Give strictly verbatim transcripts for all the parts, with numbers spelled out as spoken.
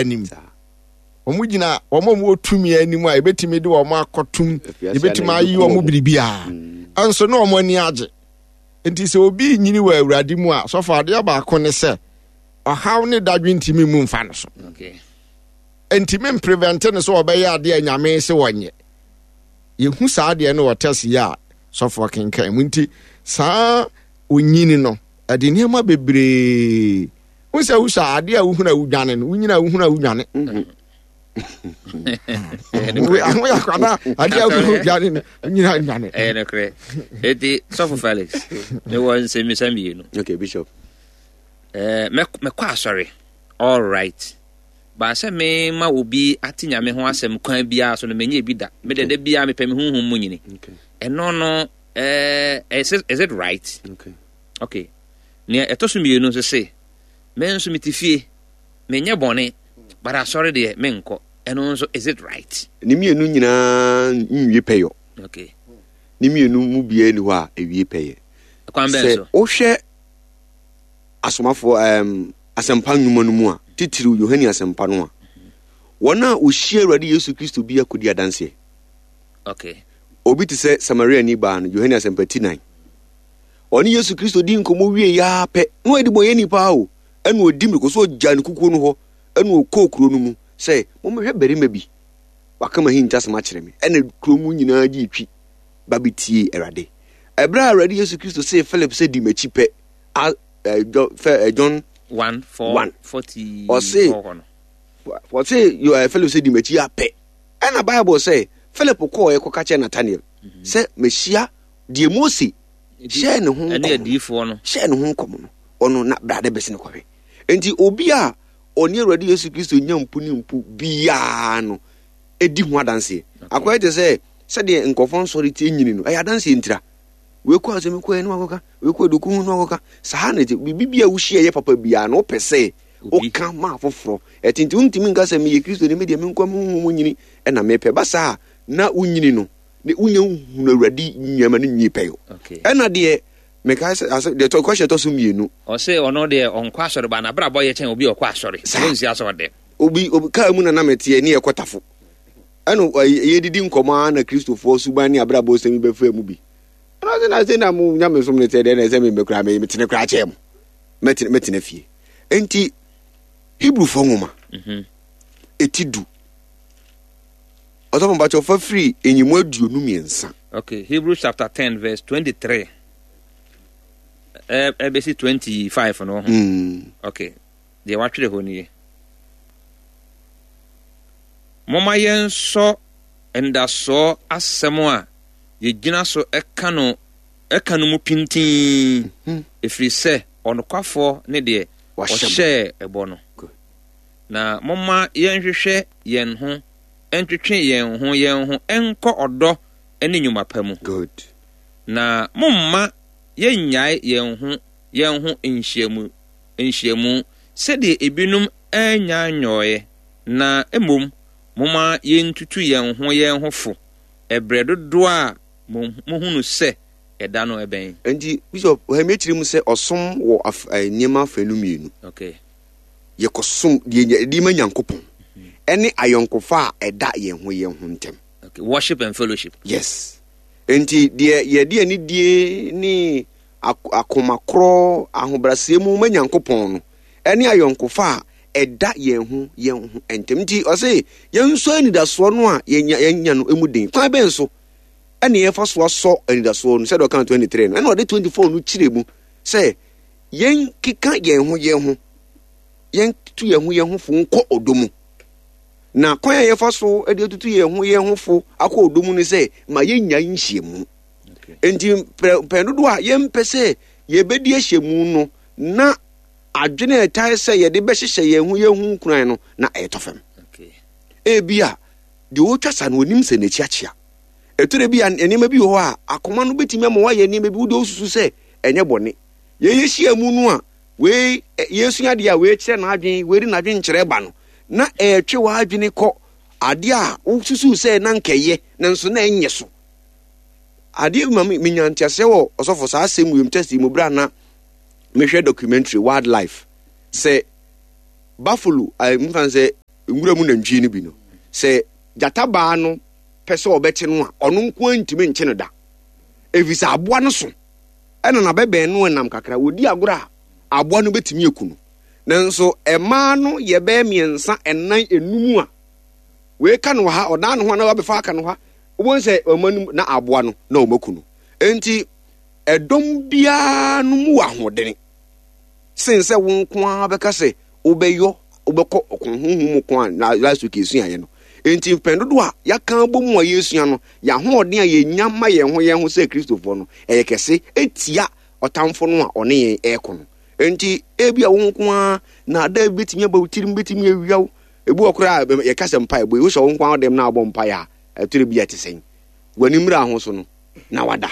anim. Wɔn gyina wɔn a wɔwɔ tumi anim a ebetumi de wɔn akɔtum, ebetumi ayi wɔn biribiara. Nso na wɔn ani agye. Nti sɛ obi nyini wɔ Awurade mu a, sɔfo, adeɛ baako ne sɛ ɔhaw ne dadwe ntumi mu nfa no so. Ntumi mprevent no sɛ ɔbɛyɛ adeɛ a Nyame sɛ wɔnyɛ. Yɛhu saa adeɛ no wɔ tɛs yi a sɔfo kenkan mu. Nti saa onyini no ɛde nneɛma bebree wo sɛ wosɔ adeɛ a wohunu a wodwane no, wonyina a wohunu a wodwane aho yɛ akwada adeɛ a wohunu dwane no, wonyina dwane. Ɛyɛ nokorɛ. Enti Sɔfo Felix, mewɔ nsɛmmisa mmienu. Okay, Bishop. Eh, mɛkɔ asɔre, all right, baa sɛ mema obi ate Nyame ho asɛm kwan biara so no, menyɛ bi da. Mede da biara mepɛ me honhom mu nyini. Ɛno no, eh, is it, is it right? Okay. Okay. Nea ɛtɔ so mmienu nso se, me nso mete fie, menyɛ bɔne, but asɔre deɛ menkɔ. Ɛno nso, is it right? Ne mmienu nyinaa nwie pɛyɔ. Okay. Ne mmienu mu biara ni hɔ a ɛwie pɛyɛ. Kwan bɛn sɛ so? Wohwɛ asomafoɔ um, asɛmpa nnwuma no mu a, titiriw Yohane Asɛmpa no a, wɔn a wɔhyia Awurade Yesu Kristo bi akɔdi adanseɛ. Okay. Obi te sɛ Samariani baa no, Yohane Asɛmpa ti nan. Ɔne Yesu Kristo di nkɔmmɔ wie yaa pɛ na ɔyɛ debɔnyɛni paa o, ɛna ɔdi mmirika so ɔgyaa ne kukuo no hɔ, ɛna ɔkɔɔ kuro no mu sɛ, "Mommɛhwɛ barima bi, waka m'ahintasɛm akyerɛ me." Ɛna kuro mu nyinaa gye twi ba bɛtie Awurade. Ɛberɛ a Awurade Yesu Kristo see Philip sɛ, "Di m'akyi" pɛ, John one four one forty ɔse four hɔ no. Ɔse Philip sɛ, "Di m'akyi" apɛ, ɛna Bible sɛ Philip kɔɔ ɛkɔka kyerɛ Nathaniel sɛ, "Mehyia deɛ Mose hyɛɛ ne ho ɛne adiyifoɔ no." Hyɛɛ ne ho nkɔm no, ɔno na brade bɛsi no kɔhwɛ. Nti obi a ɔne Awurade Yesu Kristo nya mpu ne mpu biara no ɛdi ho adanseɛ. Akɔyɛ te sɛ sɛdeɛ nkɔfoɔ nsɔre tie nyini no, ɛyɛ adanseɛ ntira. Wei kɔ asɛm kɔ ɛne wakɔka, wei kɔ aduku ho ne wakɔka. Saa na ɛte. Biribi bi a wohyia yɛ papa biara no, wopɛ sɛ woka ma afoforɔ ɛte. Nti wontumi nka sɛ meyɛ Kristo ne medeɛ menkɔ me honhom mu nyini ɛna mepɛ ba saa na wonyini no ne wonya hunu Awurade nneɛma no nwie pɛyɔ. Ɛna deɛ mekae sɛ asɛ deɛ tɔ kɔhyɛ tɔ so mmienu. Ɔse ɔno deɛ ɔnkɔ asɔre ba n'abrabɔ yɛ kyɛn obi a ɔkɔ asɔre. Saa. Ɔnsi asɔre dɛm. Obi obi kaa mu na na meteɛ ne yɛkɔ Tafo, ɛna yɛdidi nkɔmmɔ ara na Kristofoɔ suban ne abrabɔ sɛm yi bɛfaa mu bi. Ɛna ɔse na sɛ na mo nyamesom no teɛ deɛ, na ɛsɛ me mekura me metene koraa kyɛɛ mo, mɛtene mɛtena fie. Enti Hebrewfoɔ nwoma ɛti du, ɔsɔfo mpakyɛ ɔfa firi enyimu aduonu mmiɛnsa. Okay, Hebrews chapter ten verse twenty-three ɛbɛsi twenty-five no ho. Mm. Okay, deɛ watwerɛ hɔ nie: "Momma yɛnsɔ ndasoɔ asɛm a yɛgyina so ɛka no ɛka no mu pintinn, ɛfiri sɛ ɔnokwafoɔ ne deɛ wahyɛ bɔ. Ɔhyɛɛ ɛbɔ no. Good. Na momma yɛnhwehwɛ yɛn ho ntwetwe yɛn ho yɛn ho nkɔ ɔdɔ ne nnwuma pa mu. Good. Na momma yɛnnyae yɛn ho yɛn ho nhyiamu nhyiamu sɛdeɛ ebinom anya nyɔeɛ, na mmom momma yɛntutu yɛn ho yɛn ho fo ɛberɛ dodoɔ a mo- mohunu sɛ ɛda no ɛbɛn." Nti Bishop ɔhɛmi akyerɛ mu sɛ ɔsom wɔ af- eh, nneɛma afanu mmienu. Okay. Yɛkɔsom deɛ yɛde ma Nyankopɔn ɛne ayɔnkofa a ɛda yɛn ho yɛn ho ntɛm. Okay, worship and fellowship. Yes, nti deɛ yɛde anidie ne ak- akomakorɔ ahobrɛaseɛ mu ma Nyankopɔn no ɛne ayɔnkofa a ɛda yɛn ho yɛn ho ntɛm. Nti ɔse yɛnsɔ anidasoɔ no a yɛnya yɛnya no mu den. Kwan bɛn so ɛne yɛfa so asɔ anidasoɔ no? Sɛdeɛ ɔka aduonu mmiɛnsa no, ɛna ɔde aduonu nnan no kyerɛ mu sɛ yɛnkeka yɛn ho yɛn ho, yɛntutu yɛn ho yɛn ho fo nkɔ ɔdɔ mu. Na kwan a yɛfa so de atutu yɛn ho yɛn ho fo akɔ ɔdɔ mu no sɛ ma yɛnya nhyiamu. Okay. Nti mpɛn dodoɔ a yɛmpɛ sɛ yɛbɛdi ahyiamu no, na adwene a ɛtae sɛ yɛde bɛhyehyɛ yɛn ho yɛn ho nkuran no na ɛyɛtɔ fam. Okay. Ebi a deɛ ɔretwa sa no, onim sɛ n'akyi akyea. Ɛtɔrɔ bi a nneɛma bi wɔ hɔ a akoma no bɛtumi ama wayɛ nneɛma bi wode osusu sɛ ɛnyɛ bɔne. Yɛyɛ hyia mu no a, wei yɛsua adeɛ a wei kyerɛ n'adwene, wei de n'adwene kyerɛ ba no, na ɛretwe w'adwene kɔ adeɛ a wosusu sɛ na nkɛyɛ nanso na ɛnyɛ so. Adeɛ bi ma me menya nteaseɛ wɔ ɔsɔfo saa asɛm wiem test yi mu berɛ a na mehwɛ documentary wildlife sɛ buffalo a mfa sɛ Nwura mu nantwie no bi no, sɛ gyata baa no pɛ sɛ ɔbɛkye no a, ɔno nko ara ntumi nkye no da, ɛfiri sɛ aboa no so ɛna n'abɛbɛn no nam kakra. Wɔdi agorɔ a, aboa no bɛtumi aku no. Nanso mmaa no yɛ bɛyɛ mmiɛnsa, ɛnan, enum a wei ka no wɔ ha, ɔdan ne ho a na wabɛfa aka no ha. Wobɛhu sɛ ɔma no na aboa no na ɔmaku no. Enti ɛdɔm biara no mu wɔ ahoɔdene sen sɛ wo nko ara bɛka sɛ wobɛyɔ, wobɛkɔ ɔko honhom mu ko a last week yɛsuaeɛ no. Enti mpɛn dodoɔ a yɛaka abɔ mu a yɛsua no, yɛn ahoɔden a yɛnya ma yɛn ho yɛn ho sɛ Kristofoɔ no, ɛyɛ kɛse ɛtia ɔtamfo no a ɔne yɛn ɛrekɔ no. Enti ebi a wo nko ara na ada bi bɛtumi aba wo tirim, bɛtumi awia wo. Ebi wɔ koraa a yɛka sɛ mpaebɔ yi, wohyɛ wo nko ara dɛm na abɔ mpaeɛ a, ɛtore bi a ɛte sɛn? W'ani mmra ho so no, na wada.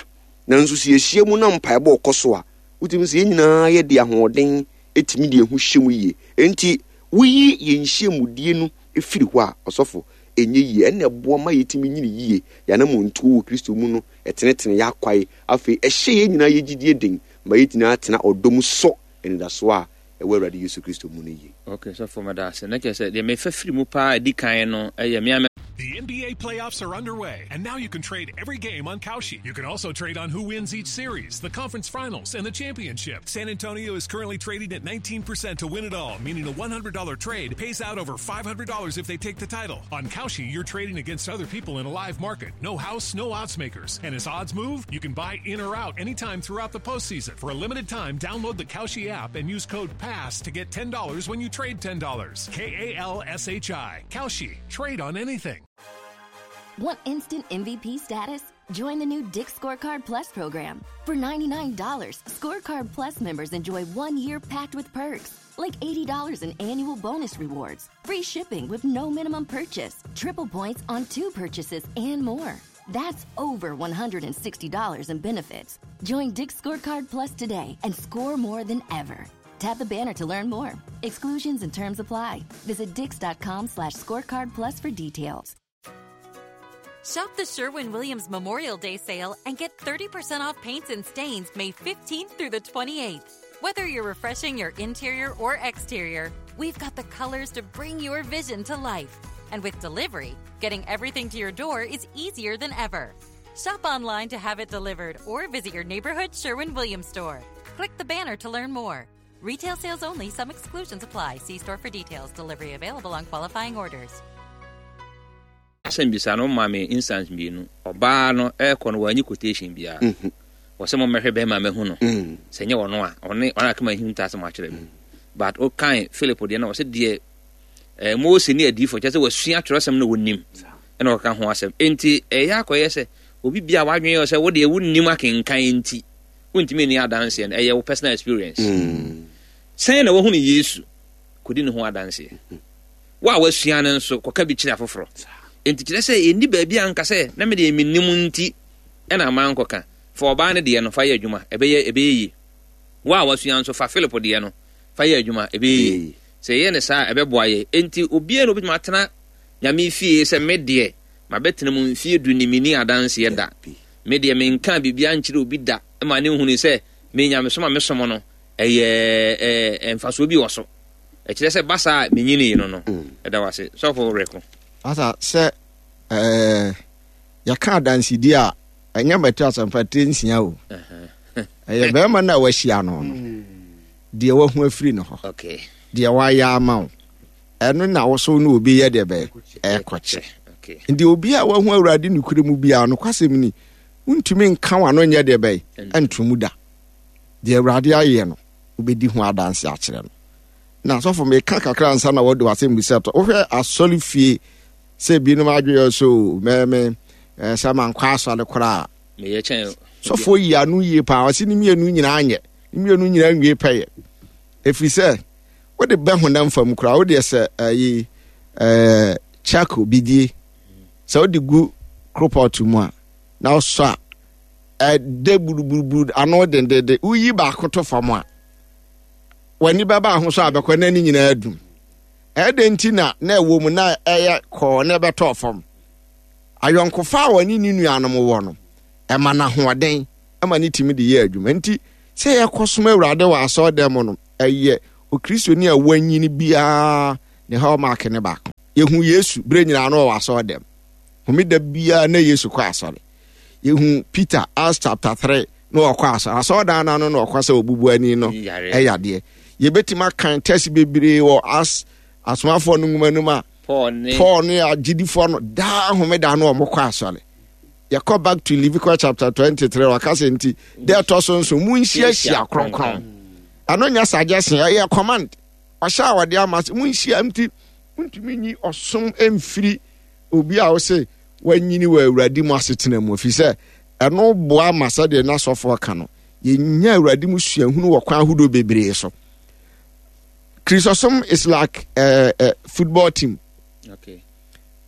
Nanso sɛ yɛhyia mu na mpaebɔ kɔ so a, wotumi sɛ yɛn nyinaa yɛde ahoɔden tumi de ɛho hyɛ mu yie. Enti woyi yɛn nhyiamudie no firi hɔ a, ɔsɔfo, ɛnyɛ yie. Ɛnna ɛboa ma yɛtumi nyini yie. Yɛn anammɔntuo wɔ Kristo mu no, ɛtenetene yɛn akwae. Afei ɛhyɛ yɛn nyinaa yɛn gyidie den ma yɛtumi atena ɔdɔ mu sɔ anidasoɔ a ɛwɔ Awurade Yesu Kristo mu no yie. Ok, sɔfo, meda ase. Na kyerɛ sɛ deɛ mefa firi mu paa a ɛdi kan no yɛ me a me. The N B A playoffs are underway, and now you can trade every game on Kalshi. You can also trade on who wins each series, the conference finals, and the championship. San Antonio is currently trading at nineteen percent to win it all, meaning a one hundred dollar trade pays out over five hundred dollars if they take the title. On Kalshi, you're trading against other people in a live market. No house, no odds makers. And as odds move, you can buy in or out anytime throughout the postseason. For a limited time, download the Kalshi app and use code PASS to get ten dollars when you trade ten dollars. K A L S H I. Kalshi. Trade on anything. Want instant M V P status? Join the new Dick's Scorecard Plus program. For ninety-nine dollars, Scorecard Plus members enjoy one year packed with perks, like eighty dollars in annual bonus rewards, free shipping with no minimum purchase, triple points on two purchases, and more. That's over one hundred sixty dollars in benefits. Join Dick's Scorecard Plus today and score more than ever. Tap the banner to learn more. Exclusions and terms apply. Visit dicks dot com slash scorecard plus for details. Shop the Sherwin Williams Memorial Day sale and get thirty percent off paints and stains May fifteenth through the twenty-eighth. Whether you're refreshing your interior or exterior, we've got the colors to bring your vision to life. And with delivery, getting everything to your door is easier than ever. Shop online to have it delivered or visit your neighborhood Sherwin Williams store. Click the banner to learn more. Retail sales only, some exclusions apply. See store for details. Delivery available on qualifying orders. Asɛm bisa no ma me instance mmienu. Ɔbaa no ɛrekɔ no, wanyi quotation biara. Wɔ sɛ mommɛhwɛ bɛrima mahu no sɛ nyɛ ɔno a ɔne ɔne akama ahim ta asɛm akyerɛ me. But wokan Philip deɛ no, ɔsɛ deɛ eh, Mose ne adiyifoɔ, kyerɛ sɛ wasua twerɛsɛm no, wɔnim ɛna ɔka ho asɛm. Enti ɛyɛ akɔyɛ sɛ obi bia wadwene yɛ sɛ wodeɛ wonnim akenkan nti wontumi nni adanseɛ no, ɛyɛ wo personal experience. Sɛn na wahunu Yesu kɔdi ne ho adanseɛ? Wo a wasua no nso, kɔka bi kyerɛ afoforɔ. Enti kyerɛ sɛ ɛnni baabi a nka sɛ na medeɛ mennim nti ɛna ama nkɔka. Fa ɔbaa no deɛ no fa yɛ adwuma, ɛbɛyɛ ɛbɛyɛ yie. Wo a wasua nso, fa Philip deɛ no fa yɛ adwuma, ɛbɛyɛ yie. Sɛ yɛyɛ ne saa a, ɛbɛboa yɛ. Enti obiara na obɛtumi atena Nyame fie sɛ me deɛ mabɛtena mu mfie du ni, menni adanseɛ da, me deɛ menka biribiara nkyerɛ obi da ma ne nhunu sɛ me nyamesom a mesom no ɛyɛ ɛɛ mfasoɔ bi wɔ so. Ɛkyerɛ sɛ basa a menyinii no no ɛda wase, sɔfo reko. Asa sɛ ɛɛ yɛka adansedie a, ɛnyɛ mɛto asɛmpa tire nsia o. Ɛyɛ bɛrima no a wahyia no no deɛ wahu afiri no hɔ, okay deɛ wayɛ ama wo, ɛno na woso ne obi yɛ deɛ bɛyɛ ɛkɔkyɛ. Okay nti obi a wahu Awurade nokorɛ mu biara, nokwasɛm ni, wontumi nka w'ano nyɛ deɛ bɛyɛ ɛnto mu da. Deɛ Awurade ayɛ no, wobɛdi ho adanse akyerɛ no. Na sɔfo, meka kakra ansa na wɔde w'asɛm bisa tɔ. Wohwɛ asɔre fie sɛ binom adwene so mɛmɛ sɛ mankɔ asɔre koraa. Meyɛ kyɛn. Sɔfoɔ yi ano yie paa. Ɔse ne mmienu nyinaa nyɛ, ne mmienu nyinaa nwie pɛyɛ, ɛfiri sɛ wode bɛ honam fam koraa, wodeɛ sɛ ɛyi ɛɛ charcoal bidie sɛ wode gu koropɔt mu a na wosɔ a, ɛdɛ buruburuburu ano dendenden. Woyi baako to fam a, w'ani bɛba ho so a, bɛkɔ na ne nyinaa dum. Ɛdɛ nti na na ɛwɔ mu na ɛyɛ kɔɔ na ɛbɛtɔɔ fam. Ayɔnkofa a wɔne ne nuanom wɔ no, ɛma no ahoɔden ɛma ne tumi de yɛ adwuma. Nti sɛ yɛkɔsom Awurade wɔ asɔredan mu no, ɛyɛ Okristoni a wanyini biara ne hallmark ne baako. Yɛhu Yesu berɛ nyinaa no ɔwɔ asɔre dɛm. Homeda biara na Yesu kɔ asɔre. Yɛhu Peter, Acts chapter three, na ɔkɔ asɔre. Asɔredan no ano na ɔkɔ sɛ obubuani no ɛyadeɛ. Yɛbɛtumi akan tɛsi bebree wɔ as asomafoɔ no nwoma no mu a Paul ne Paul ne agyidifoɔ no daa homeda no ɔmo kɔ asɔre. Yɛkɔ back to Leviticus chapter twenty-three, waka sɛ nti deɛ ɛtɔ so nso munhyiahyia kronkron. Ɛno nyɛ suggestion, ɛyɛ command. Ɔhyɛ a wɔde ama sɛ munhyia, nti wontumi nyi ɔsom mfiri obi a wose wanyini wɔ Awurade mu asetena mu, ɛfiri sɛ ɛno boa ma sɛdeɛ n'asɔfoɔ ka no, yɛnya Awurade mu suahunu wɔ kwan ahodoɔ bebree so. Kristosom is like a, a football team. Okay.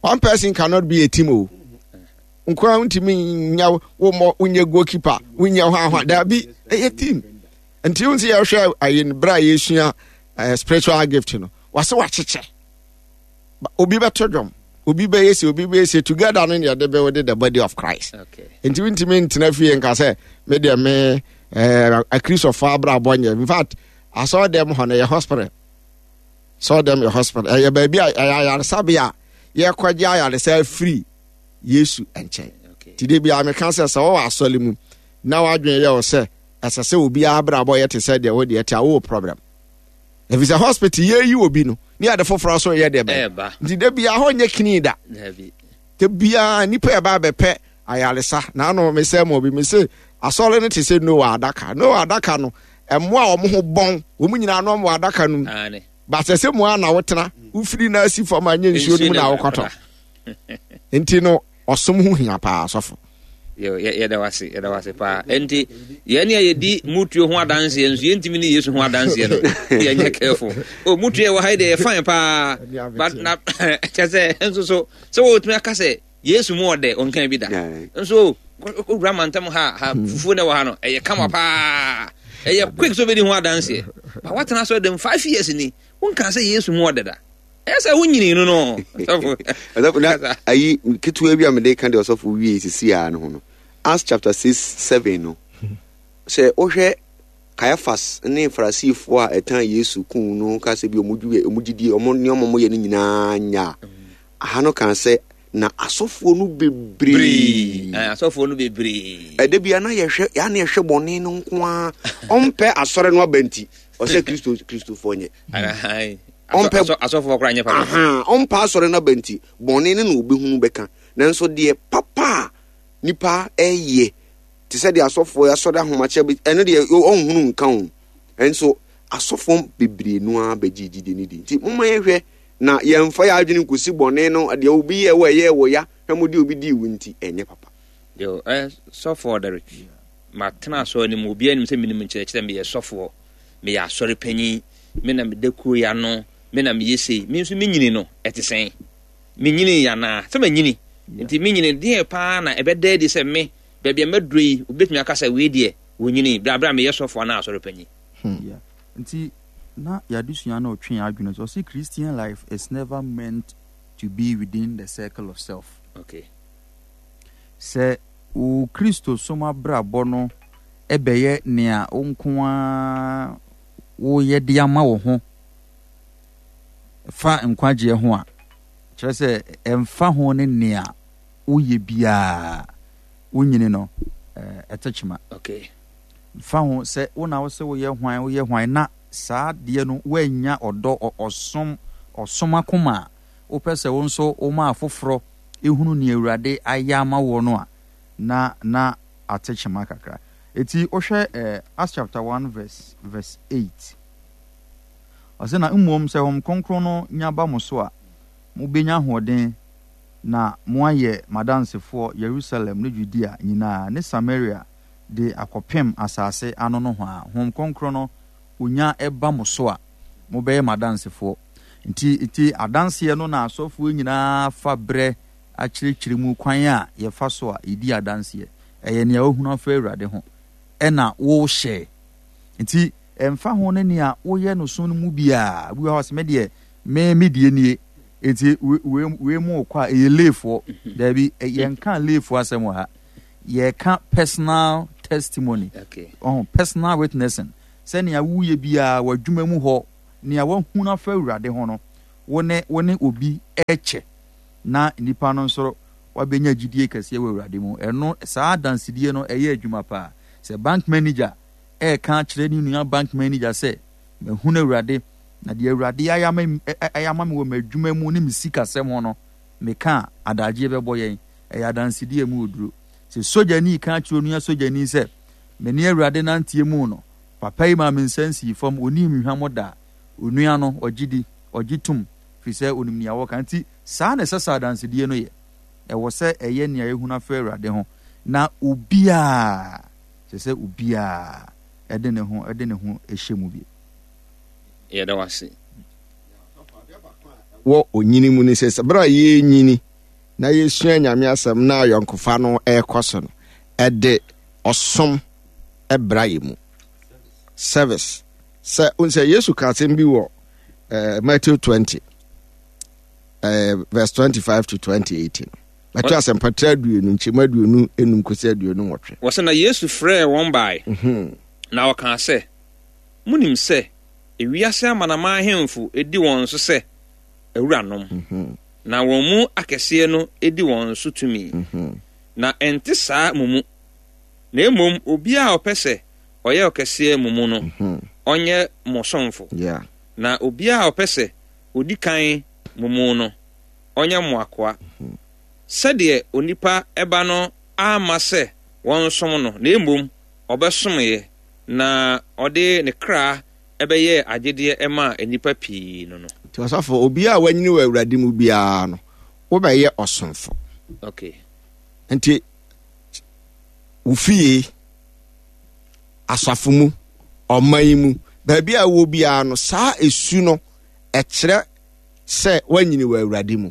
One person cannot be a team. O nkoa ntumi nya wo mmɔ, wonyɛ goalkeeper, wonyɛ hɔ ahɔ daabi, ɛyɛ team. Nti wo nsi yɛhwɛ ayi no, berɛ a yɛsua eh, spiritual gift no, wɔse wakyekyɛ, obi bɛto dwom, obi bɛyɛ se, obi bɛyɛ se, together no ne yɛde bɛwɔ the body of Christ. Okay. Nti wontumi ntena fie nka sɛ me deɛ me eh, akristofo abrabɔ nyɛ. In fact, asɔre dɛm hɔ no yɛ hospital. Asɔre dɛm yɛ hospital, ɛyɛ baabi a ɛyɛ ayaresabea a yɛkɔgye ayaresa afiri Yesu nkyɛn. Okay. Nti de bia meka sɛ sɛ wɔwɔ asɔre mu na wadwene yɛ wo sɛ ɛsɛ sɛ obiara abrabɔ yɛ te sɛ deɛ wo deɛ te a, wowɔ problem. Ɛfiri sɛ hospital yɛyi obi no ne yɛde foforɔ so yɛ deɛ bɛyɛ. Ɛɛba. Nti da bia hɔ nyɛ clean da. Dabi. Da biara nipa ɛba abɛpɛ ayaresa. Na ano mesɛ ma obi mese asɔre no te sɛ Noah adaka. Noah adaka no, ɛmmoa a wɔn ho bɔn, wɔn nyinaa no wɔ adaka no mu. Aane. Ba sɛ sɛ mu a na wotena, wofiri na asi fam a nyɛ nsuo no mu na wokɔtɔ. Nti no ɔsom ho hia paa, sɔfo. Yo, yɛ- yɛda wase, yɛda wase paa. Enti yɛn a yɛdi mutuo ho adanseɛ nso yɛntumi ne Yesu ho adanseɛ no, yɛnyɛ careful. O mutuo yɛ wɔ ha yi deɛ yɛ fine paa, but na kyɛ sɛ nso so sɛ wɔtumi aka sɛ Yesu mu ɔdɛ, ɔnka bi da. Yeah. Nso owura mantam ha ha fufuo na ɛwɔ ha no ɛyɛ kama paa, ɛyɛ quick sɛ obɛdi ho adanseɛ, ba watena so dɛm five years ni, wonka sɛ Yesu mu ɔdɛ da, ɛyɛ sɛ wonyini no no Sɔfo. Ɔsɔfo, na ayi ketewa bi a mede ka deɛ ɔsɔfo wie sisi a no ho no, Acts chapter six seven no, sɛ wohwɛ Caiaphas ne Farisifoɔ a ɛtan Yesu kun no ka sɛ bi ɔmo dwi ɔmo gyidie ɔmo nneɛma ɔmo yɛ no nyinaa nya a, aha no kan sɛ na asɔfoɔ no bebree. Eh, asɔfoɔ no bebree. Ɛda bia na yɛhwɛ yɛa na yɛhwɛ bɔne no nko ara, ɔmpɛ asɔre no aba nti ɔsɛ Kristo Kristofoɔ nyɛ. Ahan. Ɔmpɛ- Asɔ- asɔfoɔ koraa nyɛ papa. Aha, ɔmpa asɔre no aba nti bɔne no na obɛhunu bɛka, nanso deɛ papa a nipa ɛyɛ te sɛ deɛ asɔfoɔ asɔre ahomakyɛ bi, ɛno deɛ ɔnhunu nka ho. Ɛnso asɔfoɔ bebree no ara bɛgye gyidie no di. Nti momma yɛhwɛ na yɛmfa yɛ adwene nkɔsi bɔne no deɛ obi yɛ wɔ ɛyɛ wɔ ya hwɛ mo deɛ obi dii wo nti ɛnyɛ papa. Yo, eh, sɔfoɔ Derek, matena asɔre no mu, obiara nim sɛ menim nkyerɛkyerɛ, meyɛ sɔfoɔ, meyɛ asɔre panyin, me na meda kuo yi ano, me na meyɛ sei, me nso menyini no, ɛte sɛn? Menyini yɛ anaa? Sɛ manyini, nti menyini deɛ paa na ɛbɛda adi sɛ me, baabi a maduro yi, obɛtumi aka sɛ wei deɛ, wɔnyini, berɛ a berɛ a meyɛ sɔfoɔ anaa asɔre panyin. Yeah. Nti na yɛadesua no ɔtwe yɛn adwene so, ɔse Christian life is never meant to be within the circle of self. Okay. Sɛ wo Kristo som abrabɔ no ɛbɛyɛ nea wo nko ara woyɛ de ama wo ho fa nkwagyeɛ ho a, kyerɛ sɛ ɛmfa ho ne nea woyɛ biara, wonyini no eh, ɛte kyema. Okay. Mfa ho sɛ wo na wo sɛ woyɛ hwan, woyɛ hwan, na saa adeɛ no woanya ɔdɔ ɔ- ɔsom ɔsom akoma a wopɛ sɛ wo nso woma afoforɔ ehunu nea Awurade ayɛ ama woɔ no a, na na ate kyema kakra. Eti wohwɛ eh, Acts chapter one verse verse eight, ɔsɛ na mmom sɛ Honhom Kronkron no nya ba mo so a, mobɛnya ahoɔden na moayɛ m'adansefoɔ Yerusalem ne Judea nyinaa ne Samaria de akɔpem asase ano nohoa. Honhom Kronkron no onya ɛba mo so a, mobɛyɛ m'adansefoɔ. Nti nti adanseɛ no na asɔfoɔ nyinaa fa berɛ akyerɛkyerɛ mu kwan a yɛfa so a yɛdi adanseɛ. Ɛyɛ nea wohunu afa Awurade ho ɛna wohyɛ. Nti ɛmfa ho ne nea woyɛ no so no mu biara, bi wɔ hɔ a sɛ me deɛ me me deɛ nie, nti wei wei mu kɔ a ɛyɛ leefoɔ. Daabi, yɛnka leefoɔ asɛm wɔ ha, yɛka personal testimony. Okay. Ɔho personal witnessing, sɛnea woyɛ biara w'adwuma mu hɔ, nea wahunu afa Awurade ho no, wo ne wo ne obi ɛkyɛ na nipa no nso wabɛnya gyidie kɛseɛ wɔ Awurade mu. Ɛno saa adansedie no ɛyɛ adwuma paa. Sɛ bank manager ɛreka akyerɛ ne nua bank manager sɛ mahunu Awurade na deɛ Awurade ayɛ ama ayɛ ama me wɔ m'adwuma mu ne me sikasɛm ho no, meka a, adagyeɛ bɛbɔ yɛn. Ɛyɛ adansedie mu oduro. Sɛ sogyani ka akyerɛ onua sogyani sɛ me ne Awurade nanteɛ mu no, papa yi maa me nsa nsii fam, ɔnii me hwammɔ da a, onua no ɔgye di, ɔgye tom, firi sɛ onim nea wɔka. Nti saa na ɛsɛ sɛ adansedie no yɛ. Ɛwɔ sɛ ɛyɛ nea yɛhunu afa Awurade ho, na obiara, kyerɛ sɛ obiara ɛde ne ho ɛde ne ho hyɛ mu bi. Yɛda wo ase. Wɔ onyini mu ne sɛ sɛ berɛ a yɛnyini na yɛsua Nyame asɛm na ayɔnkofa no ɛrekɔ so no, ɛde ɔsom ɛbra yɛ mu. Service. Sɛ sɛ Yesu ka asɛm bi wɔ uh, Matthew twenty uh, verse twenty-five to twenty-eight no. Matthew asɛmpatra aduonu nkyɛmu aduonu enum kɔsi aduonu nwɔtwe. Wɔsɛ na Yesu frɛɛ wɔn bae. Na ɔkaa sɛ, munim sɛ ewiase amanaman ahemfo edi wɔn so sɛ awuranom, na wɔn mu akɛseɛ no edi wɔn so tumi. Na ɛnte saa mo mu. Na mmom obiara a ɔpɛ sɛ ɔyɛ ɔkɛseɛ mo mu no, ɔnyɛ mo somfo. Na obiara a ɔpɛ sɛ odi kan mo mu no, ɔnyɛ mo akoa. Sɛdeɛ onipa ɛba no amma sɛ wɔnsom no, na mmom ɔbɛsomyɛ, na ɔde ne kra ɛbɛyɛ agyedeɛ ɛma nnipa pii no no. Nti ɔsɔfo, obiara a wanyini wɔ Awurade mu biara no, wobɛyɛ ɔsomfo. Okay. Nti wo fie, asafo mu, ɔman mu, baabi a wɔ biara no, saa esu no ɛkyerɛ sɛ wanyini wɔ Awurade mu.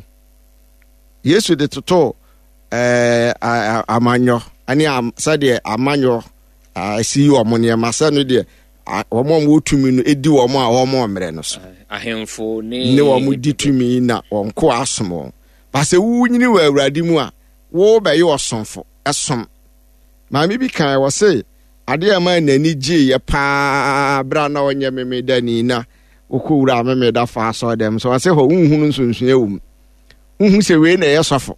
Yesu de toto ɛɛ amanyɔ ne sɛdeɛ amanyɔ esi yi wɔn nneɛma sɛ no deɛ wɔn a wɔwɔ tumi no edi wɔn a wɔn mmerɛ no so. Ahemfo ne ne wɔn di tumi na wɔn ko asom wɔn. Baasa wonyini wɔ Awurade mu a, wɔbɛyɛ ɔsomfo ɛsom. Maame bi kan wɔ se adeɛ a ɛma n'ani gye yɛ paa bere a na ɔnyɛ memedani na wokɔwura memeda fa asɔre dɛm so ɔse hɔ wonhunu nsonsonoeɛ wɔ mu. Wohu sɛ wei na ɛyɛ sɔfo,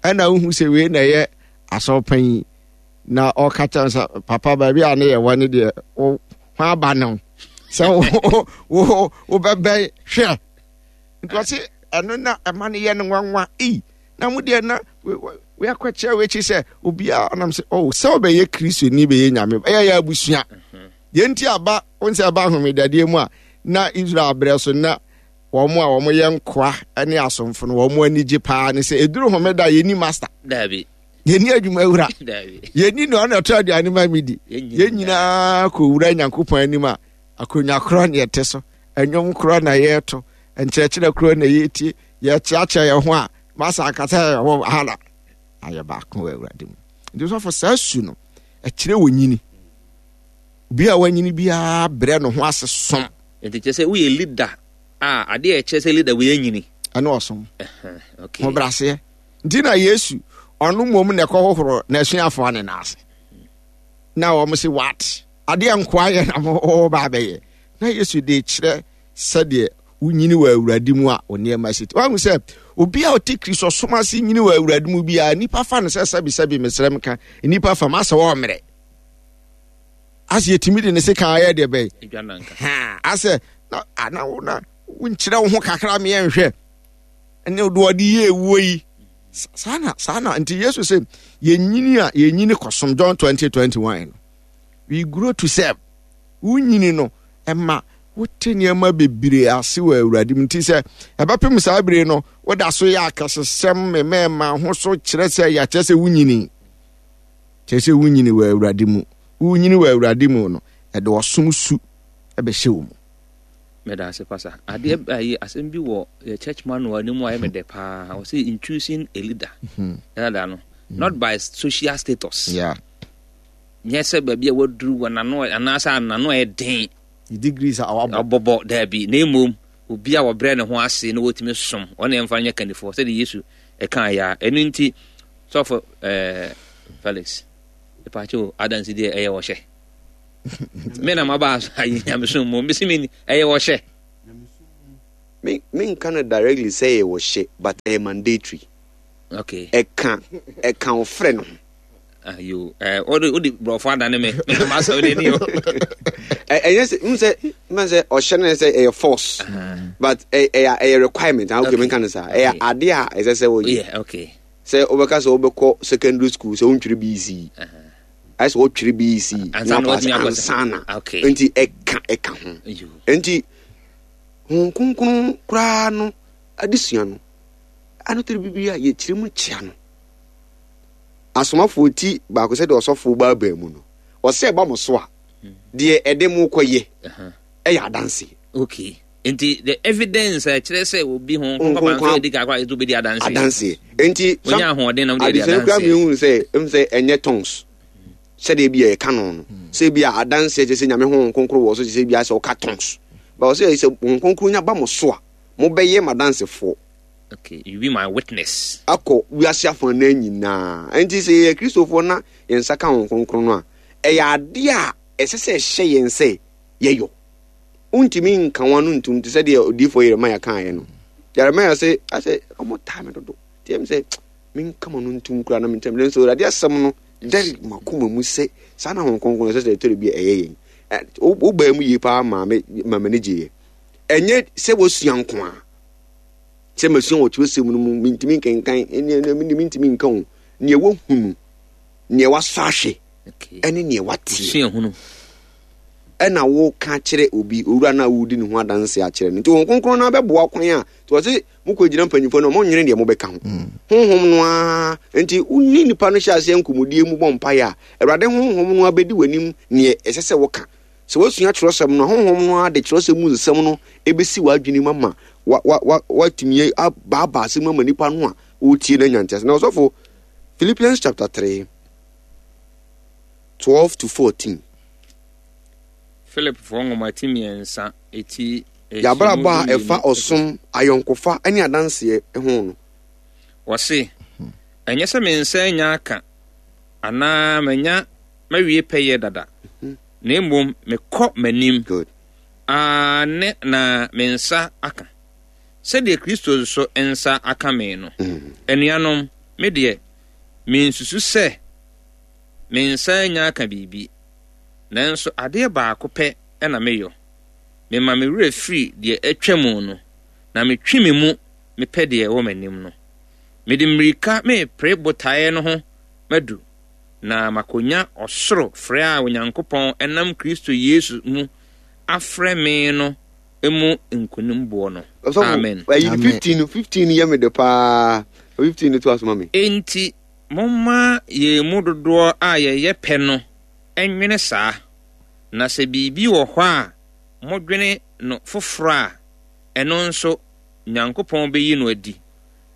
ɛna wohu sɛ wei na ɛyɛ asɔrepanyin. Na ɔka kyerɛ sɛ papa baabi a ne yɛ wɔ ne deɛ wo ho aba ne ho sɛ wo wo wobɛbɛn hwɛ. Nti ɔse ɛno na ɛma no yɛ no nwanwa. Ei, na mo deɛ na we akɔkyerɛ w'akyi sɛ obiara nam sɛ oh sɛ wobɛyɛ Kristoni bɛyɛ Nyame ɛyɛ yɛ abusua. Deɛ nti aba wo sɛ ɛba ahomedadeɛ mu a na Israel berɛ so na wɔn a wɔn yɛ nkoa ne asomfo no wɔn ani gye paa ne sɛ ɛduru homeda yɛni master. Dabi. Yɛni adwuma wura. Dabi. Yɛni na ɔna ɛtɔ aduane ma mi di. Yɛn nyinaa kɔ wura Nyankopɔn anim a akonnwa korɔ na yɛte so, ɛnwom korɔ na yɛreto, nkyerɛkyerɛ korɔ na yɛtie, yɛkyeakyea yɛn ho a masa ankasa yɛ wɔ ha na ayɛ baako wɔ Awurade mu. Nti sɔfo saa su no ɛkyerɛ wɔ nyini. Obi a wanyini biara brɛ ne ho ase som. Nti kyerɛ sɛ woyɛ leader a adeɛ a ɛkyerɛ sɛ leader woyɛ nyini. Ɛne ɔsom. Okay. Ho braseɛ. Nti na Yesu ɔno mmom na ɛkɔhohoro n'asuafoɔ ne n'ase. Na wɔn se what? Adeɛ nkoa yɛ na mo ba abɛyɛ. Na Yesu de kyerɛ sɛdeɛ wonyini wɔ Awurade mu a nneɛma si. Wahu sɛ obi a ɔte Kristo som ase nyini wɔ Awurade mu biara, nnipa fa no sɛ sɛbisɛbi mesrɛ m ka, nnipa fa m asɛ wɔ mmerɛ. Asɛ yɛtumi de ne se kan ayɛ deɛ bɛyɛ. Ha, asɛ na na wo na wonkyerɛ wo ho kakra meɛ nhwɛ. Ɛne de ɔde yɛ ewuo yi. Saa na saa na nti Yesu sɛ yɛnyini a yɛnyini kɔsom John twenty twenty-one no. We grow to serve. Wonyini no ɛma wote nneɛma bebree ase wɔ Awurade mu. Nti sɛ ɛbɛpem saa bere no woda so yɛ akɛsesɛm mmarima ho so kyerɛ sɛ yɛakyerɛ sɛ wonyini. Kyerɛ sɛ wonyini wɔ Awurade mu. Wonyini wɔ Awurade mu no ɛde ɔsom su ɛbɛhyɛ wo mu. Meda ase pasa. Adeɛ ayi asɛm bi wɔ yɛ church manual no mu a ɛyɛ me dɛ paa. Ɔsɛ in choosing a leader. Ɛna no not by social status. Yeah. Nyɛ sɛ baabi a waduru wɔ n'ano anaasɛ n'ano a ɛyɛ den. Degrees a wabɔ. Ɔbɔbɔ daabi. Na mmom obi a wɔbrɛ ne ho ase na wɔtumi som ɔne ɛmfa nyɛ kandifoɔ sɛdeɛ Yesu ɛka yɛ a. Ɛno nti sɔfo ɛɛ Felix ɛpaakyɛw adansi deɛ ɛyɛ wɔhyɛ. Me na maba ayi nyamesom mu mbesi mi ɛyɛ wɔhyɛ. Me menka no directly sɛ ɛyɛ ɔhyɛ, but ɛyɛ mandatory. Okay. Ɛka ɛka ɔfrɛ no ho. Ayo, eh, wode wode borɔfo adane me. Me ma sɛ wode ni o. Ɛnyɛ sɛ n sɛ n sɛ ɔhyɛ no sɛ ɛyɛ force. Uh-huh. But ɛyɛ ɛyɛ requirement. Ah, okay, menka no saa. Ɛyɛ ade a ɛsɛ sɛ wɔyɛ. Yeah, okay. Sɛ wobɛka sɛ wobɛkɔ secondary school sɛ wontwere B E C. Uh-huh. Ayɛ sɛ wɔtwere B E C na wapass ansa na. Nti ɛka ɛka ho. Nti Honhom Kronkron koraa no adesua no ano tiri bibi a yɛkyerɛ mu kyea no. Asomafoɔ ti baako, sɛdeɛ ɔsɔfoɔ baabaa mu no, ɔsɛ ɛba mo so a, deɛ ɛde mo kɔyɛ ɛyɛ adanseɛ. Okay. Nti the evidence a ɛkyerɛ sɛ obi ho nkɔmpa nso edi kakra ɛto bɛdi adanseɛ. Adanseɛ. Nti wonya ahoɔden na wode adi adesua kura mi hu sɛ ɛmu sɛ ɛnyɛ tongues sɛdeɛ bi a yɛka no no sɛ bi a adanseɛ kyerɛ sɛ Nyame Honhom Kronkron wɔ so, kyerɛ sɛ bi a sɛ ɔka tongues ba, ɔsɛ sɛ Honhom Kronkron nya ba mo so a, mobɛyɛ m'adansefoɔ. Okay, you be my witness. Akɔ wiase afanan nyinaa. Nti sɛ yɛyɛ Kristofoɔ na yɛn nsa ka Honhom Kronkron no a, ɛyɛ adeɛ a ɛsɛ sɛ ɛhyɛ yɛn sɛ yɛyɔ. Wontumi nka wɔn ano ntum te sɛ deɛ odiyifoɔ Yeremia kaeɛ no. Yeremia sɛ asɛ ɔmo taa me dodo nti ɛm sɛ menka mo ano ntum koraa na mentɛm, nanso Awurade asɛm no dɛre makoma mu sɛ saa na Honhom Kronkron ɛsɛ sɛ ɛtɔre bi a ɛyɛ yɛn. Wobaa mu yie paa maa me ma m'ani gyeeɛ. Ɛnyɛ sɛ wasua nko a, sɛ masua wɔ twerɛsɛm no mu, mentumi nkenkan, ɛne mentumi nka o. Neɛ wahunu, neɛ wasɔ ahwɛ, ɛne neɛ wateɛ ɛna woka kyerɛ obi, owura no a wodi ne ho adanse akyerɛ no. Nti Honhom Kronkron no abɛboa kwan a nti wɔse mokɔgyina mpanyimfoɔ no, monnwene deɛ mobɛka ho. Honhom no ara nti wone nipa no hyɛ aseɛ nkɔmmɔdie mu bɔ mpaeɛ a, Awurade Honhom no abɛdi w'anim neɛ ɛsɛ sɛ woka. Sɛ woasua twerɛsɛm no a, Honhom no ara de twerɛsɛm mu nsɛm no ɛbɛsi w'adwene mu ama watumi abaabaa asɛm mu ama nipa no a ɔretie no anya ntease. Na ɔsɔfo, Philippians chapter three, twelve to fourteen. Philipfoɔ nwoma ti mmiɛnsa eti Yɛabrabɔ a ɛfa ɔsom, ayɔnkofa ne adanseɛ ho no. Wɔse, ɛnyɛ sɛ me nsa anya aka anaa manya mawie pɛyɛ dada, na mmom mekɔ m'anim Good. Aane, na me nsa aka, sɛdeɛ Kristo nso nsa aka me no. Anuanom, me deɛ, mensusu sɛ me nsa anya aka biribi, nanso adeɛ baako pɛ na meyɔ: mema me werɛ firi deɛ atwa mu no, na metwe me mu mepɛ deɛ ɛwɔ m'anim no. Mede mmirika mepere botaeɛ no ho madu, na makonya ɔsoro frɛ a Onyankopɔn nam Kristo Yesu mu afrɛ me no mu nkonimboɔ no. Amen. Ayi, fifteen no, fifteen yɛ me de paa. Fifteen no to asoma me. Enti momma yɛn mu dodoɔ a yɛyɛ pɛ no nwene saa, na sɛ biribi wɔ hɔ a modwene no foforɔ a, ɛno nso Nyankopɔn bɛyi no adi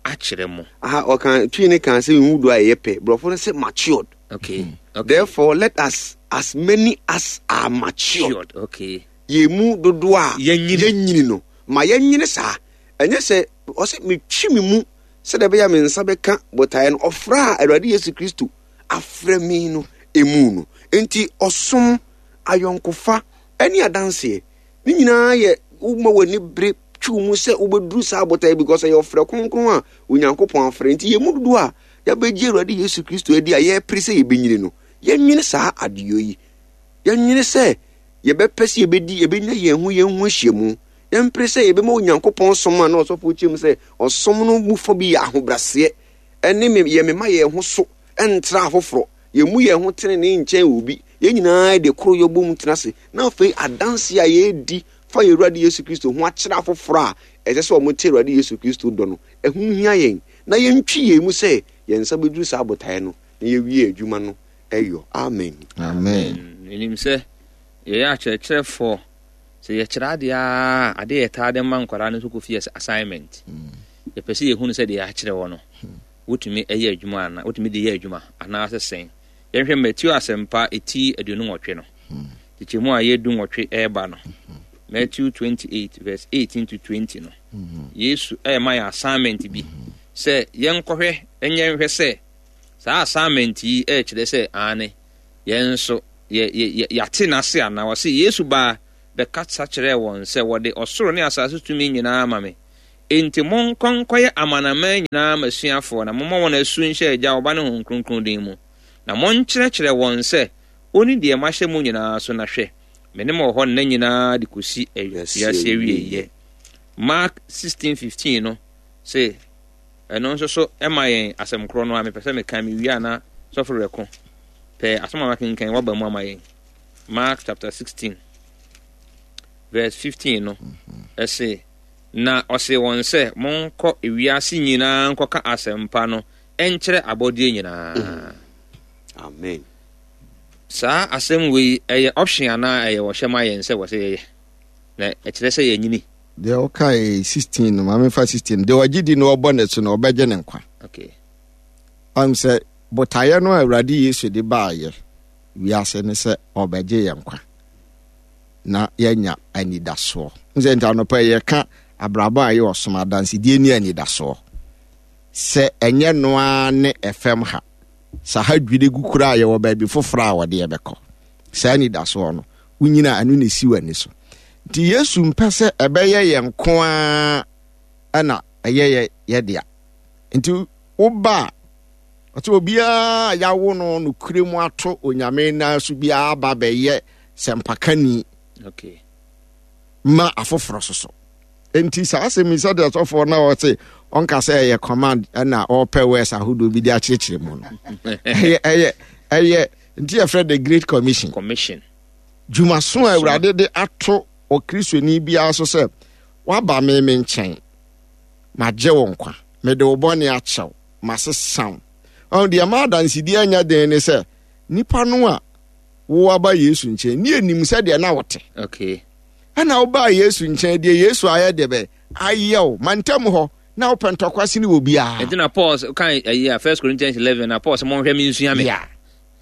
akyerɛ mo. Aha ɔka Twi ne kan sɛ nwu do a ɛyɛ pɛ. Borɔfo no sɛ matured. Okay. okay. Therefore let us, as many as are matured. Okay. Yɛn mu dodoɔ a yɛnyini yɛnyini no, ma yɛnyini saa. Ɛnyɛ sɛ ɔsɛ metwi me mu sɛdeɛ ɛbɛyɛ a me nsa bɛka botaeɛ no, ɔfrɛ a Awurade Yesu Kristo afrɛ me no emu no. Nti ɔsom, ayɔnkofa ne adanseɛ ne nyinaa yɛ woma w'ani bere twiw mu sɛ wobɛduru saa botaeɛ, because ɛyɛ ɔfrɛ kronkron a Onyankopɔn afrɛ. Nti yɛn mu dodoɔ a yɛabɛgye Awurade Yesu Kristo adi a yɛpere sɛ yɛbɛnyini no, yɛnwene saa adeɛ yi. Yɛnwene sɛ yɛbɛpɛ sɛ yɛbɛdi yɛbɛnya yɛn ho yɛn ho ahyiamu. Yɛmpere sɛ yɛbɛma Onyankopɔn som a na ɔsɔfoɔ kyerɛ mu sɛ ɔsom no mu fa bi yɛ ahobrɛaseɛ ɛne me yɛ mema yɛn ho so ɛntra afoforɔ, yɛmmu yɛn ho tenenee nkyɛn obi. Yɛn nyinaa de koro yɛbɔ mu tena ase, na afei adanse a yɛredi fa yɛn Awurade Yesu Kristo ho akyerɛ afoforɔ a ɛsɛ sɛ wɔte Awurade Yesu Kristo dɔ no, ɛho hia yɛn na yɛntwi yɛn mu sɛ yɛn nsa bɛduru saa botaeɛ no na yɛwie adwuma no ɛyɔ. Amen. Amen. Menim sɛ yɛyɛ akyerɛkyerɛfoɔ, sɛ yɛkyerɛ adeɛ a, adeɛ yɛtaa de ma nkwadaa no nso kɔ fie assignment. Yɛpɛ sɛ yɛhunu sɛ deɛ yɛakyerɛ wɔ no, wotumi yɛ adwuma ana wotumi de yɛ adwuma anaasɛ sɛn. Yɛnhwɛ Matthew Asɛmpa ɛti aduonu nwɔtwe no kyekyɛmu a yɛdu nwɔtwe ɛreba no, Matthew twenty-eight verse eighteen to twenty no. Yesu ɛrema yɛ assignment bi sɛ yɛnkɔhwɛ, ɛnyɛ nhwɛ sɛ saa assignment yi ɛrekyerɛ sɛ aane yɛn nso yɛ yɛ yɛate n'ase anaa. Wɔse Yesu baa bɛkasa kyerɛɛ wɔn sɛ, Wɔde ɔsoro ne asase tumi nyinaa ama me. Enti monkɔ nkɔyɛ amanaman nyinaa m'asuafoɔ, na mommɔ wɔn asu nhyɛ Agya, Ɔba ne Honhom Kronkron din mu, na monkyerɛkyerɛ wɔn sɛ wɔnni deɛ mahyɛ mo nyinaa so, na hwɛ, me ne mo wɔ hɔ nna nyinaa de kɔsi wiase awieeɛ. Mark sixteen fifteen no se ɛno nso so ɛma yɛn asɛm korɔ no a mepɛ sɛ meka mewie a na sɔfo rɛko pɛɛ asɛm a makenkan waba mu ama yɛn. Mark chapter sixteen verse fifteen no ɛse, na ɔse wɔn sɛ, monkɔ ewiase nyinaa nkɔka asɛmpa no ɛnkyerɛ abɔdeɛ nyinaa. Mm. Amen. Saa asɛm wei ɛyɛ option anaa ɛyɛ wɔhyɛ ma yɛn sɛ wɔsɛ yɛyɛ, na ɛkyerɛ sɛ yɛnyini. Deɛ ɔkae sixteen no, maame fa sixteen, deɛ ɔgye di na ɔbɔ ne so no ɔbɛgye ne nkwa. Okay. Ɔn sɛ botaeɛ no a Awurade Yesu de baayɛ wiase ne sɛ ɔbɛgye yɛn nkwa na yɛanya anidasoɔ. Sɛ nti anɔpa yɛka abrabɔ a ɛyɛ ɔsom adansedie ne anidasoɔ. Sɛ ɛnyɛ noa ne ɛfam ha, sɛ ha dwiri gu koraa yɛwɔ baabi foforɔ a wɔde yɛbɛkɔ. Saa anidasoɔ no, wonyina ɛno na esi w'ani so. Nti Yesu mpɛ sɛ ɛbɛyɛ yɛn nko ara ɛna ɛyɛ yɛ yɛ dea. Nti woba a, ɔsɛ obiara a yawo no nokorɛ mu ato Onyame nan so biara ba bɛyɛ sɛmpakani Okay. ma afoforɔ soso. Nti saa asɛm yi sɛdeɛ sɔfoɔ na ɔse ɔnka sɛ ɛyɛ command ɛna ɔpɛ words ahodoɔ bi de akyerɛkyerɛ mu no. Ɛyɛ ɛyɛ ɛyɛ nti yɛfrɛ the Great Commission. Commission. Dwumaso a Awurade de ato ɔkristoni biara so sɛ waba me me nkyɛn, magye wo nkwa, mede wo bɔne akyɛw, masesa wo. Ɔno deɛ ma adansedie anya den ne sɛ nipa no a wo aba Yesu nkyɛn ne anim sɛ deɛ na wote. Okay. Ɛna wobaa Yesu nkyɛn deɛ Yesu ayɛ deɛ bɛ ayɛ wo mantam hɔ na wopɛ ntɔkwa sene wɔ biara. Nti na Paul kan ayi a First Corinthians eleven na Paul sɛ monhwɛ me nsua me. Yeah.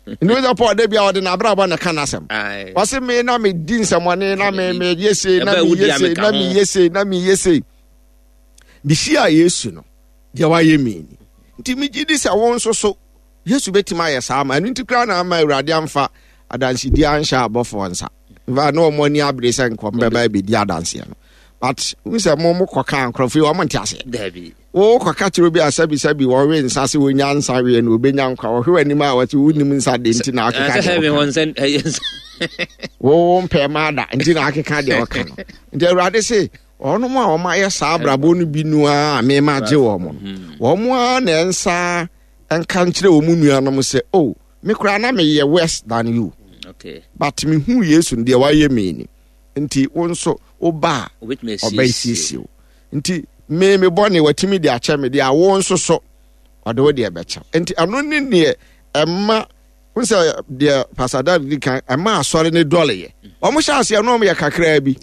Nti sɛ Paul da bia ɔde n'abrabɔ na ka n'asɛm. Ɔse me na medi nsɛmɔne na me meyɛ sei na meyɛ sei na meyɛ sei na meyɛ sei. Mehyia Yesu no deɛ wayɛ me ni. Nti megye di sɛ wo nso so Yesu bɛtumi ayɛ saa ma ɛno nti koraa na ama Awurade amfa adansedie anhyɛ abɔfoɔ nsa. Mfa na wɔn ani abere sɛ nkɔm bɛba abɛdi adanseɛ no. But wo sɛ mo mo kɔka nkurɔfoɔ yi wɔn nte aseɛ. Dabi. Wo kɔka kyerɛ obi a sɛbi sɛbi wɔwe nsa sɛ wɔnya nsa wie no wɔbɛnya nkwa wɔhwɛ w'anim a wɔte wonim nsa de nti na akeka deɛ wɔka. Wo mpɛ ma ada nti na akeka deɛ wɔka no. Nti Awurade se wɔnom a wɔn ayɛ saa abrabɔ no bi no a mema gye wɔn no. Wɔn a na ɛnsa nka nkyerɛ wɔn nuanom sɛ oh me koraa na meyɛ worse than you. Okay. But mehu Yesu no deɛ wayɛ me ni. Nti wo nso woba a ɔbɛsiesie wo. Nti me me bɔne watumi de akyɛ me deɛ a wo nso so ɔde wo deɛ bɛkyɛ. Nti ɛno ne deɛ ɛma wo sɛ deɛ Pastor David di kan ɛma asɔre ne dɔleyɛ. Wɔn hyɛ aseɛ no wɔn yɛ kakraa bi.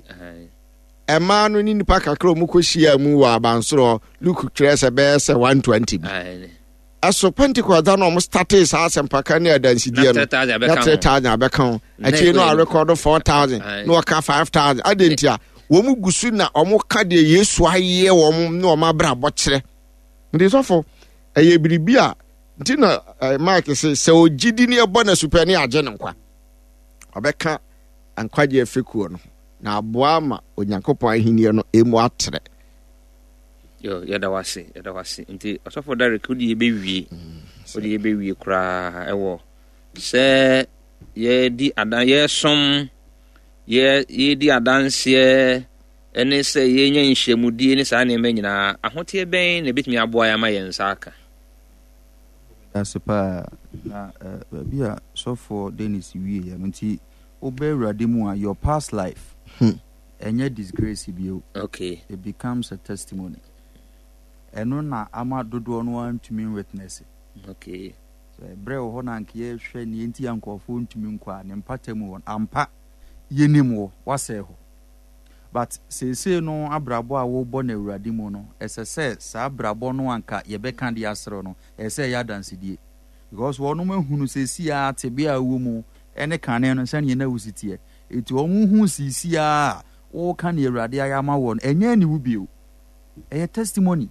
Ɛmaa no ne nipa kakra wɔn kɔ hyia mu wɔ abansoro Luke twerɛ sɛ bɛyɛ sɛ one twenty bi. Ɛso Pentecost da na wɔn startee saa asɛmpaka ne adansidie no na three thousand abɛka ho. Akyire no arekɔdo four thousand na wɔka five thousand. Adi nti a wɔn gu so na wɔn ka deɛ Yesu ayɛ wɔn ne wɔn abrabɔ kyerɛ. Nti sɔfo ɛyɛ biribi a nti na eh, Mark sɛ sɛ ogye di ne ɛbɔ na supɛ ne agye ne nkwa. Ɔbɛka nkwagye afekuo no na aboa ama Onyankopɔn ahenni no emu atrɛ. Yo, yɛda wase, yɛda wase. Nti ɔsɔfo Derek wode yɛbɛwie. Wode yɛbɛwie koraa ɛwɔ sɛ yɛdi adan yɛsom yɛ yɛdi adanseɛ ɛne sɛ yɛnya nhyiamudie ne saa nneɛma nyinaa. Ahoteɛ bɛn na ɛbɛtumi aboa yɛn ama yɛn nsa aka? Ase paa na baabi a sɔfoɔ Dennis wie yɛ no nti wobɛ Awurade mu a your past life ɛnyɛ disgrace bio. Okay. It becomes a testimony. Ɛno na ama dodoɔ no ara ntumi witness. Okay. Sɛ berɛ wɔ hɔ na anka yɛhwɛ neɛ nti a nkurɔfoɔ ntumi nkɔ a ne mpata mu wɔ ampa yɛnim wɔ wasɛe hɔ. But seesei no abrabɔ a wobɔ no Awurade mu no, ɛsɛ sɛ saa abrabɔ no anka yɛbɛka de aserew no, ɛsɛ sɛ ɛyɛ adansedie. Because wɔnom ahunu seesei ara tebea a wowɔ mu ɛne kane no sɛdeɛ na wosi teɛ. Enti wɔn hu seesei ara a woka nea Awurade ayɛ ama woɔ no, ɛnyɛ aniwu bio. Ɛyɛ testimony.